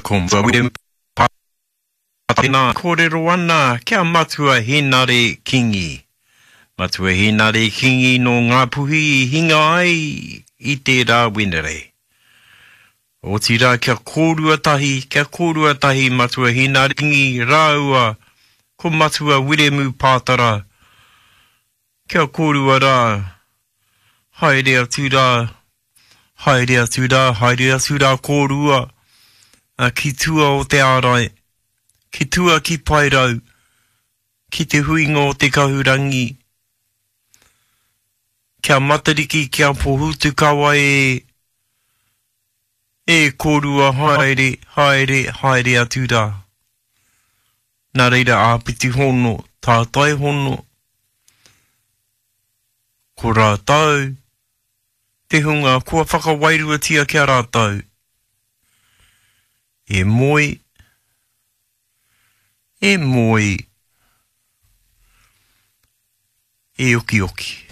Ko Wiremu Pātara kōrero ana ki a Matua Hēnare Kingi. Matua Hēnare Kingi nō Ngāpuhi i hinga ai i tērā Wenerei. Otirā kia kōrua tahi, kia kōrua tahi Matua Hēnare Kingi rāua ko Matua Wiremu Pātara, kia kōrua rā, haere atu rā, haere atu rā, haere atu rā kōrua ki tua o te ārai, ki tua ki Paerau, ki te huinga o te kahurangi, kia Matariki, kia Pohutukawa e, e kōrua haere, haere, haere atu rā. Nā reira āpiti hono, tātai hono, ko rātou te hunga kua whakawairuatia ki a rātou e moe, e moe, e okioki.